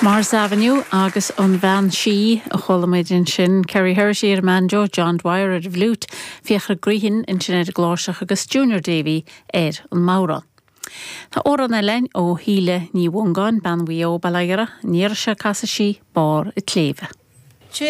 Morris Avenue agus an Bhean Sí a chuala muid ansin, Kerry Herity ar an mbanjo, John Dwyer ar an bhfliúit, Fiachra Grehan ansin ar an gcláirseach agus Junior Davey ar an mbodhrán. Tá amhrán eile againn ó Shíle Ní Mhongáin, bean Mhaigh Eo, Baile Oighre, an iarraidh seo casfaidh sí Barr an tSléibhe.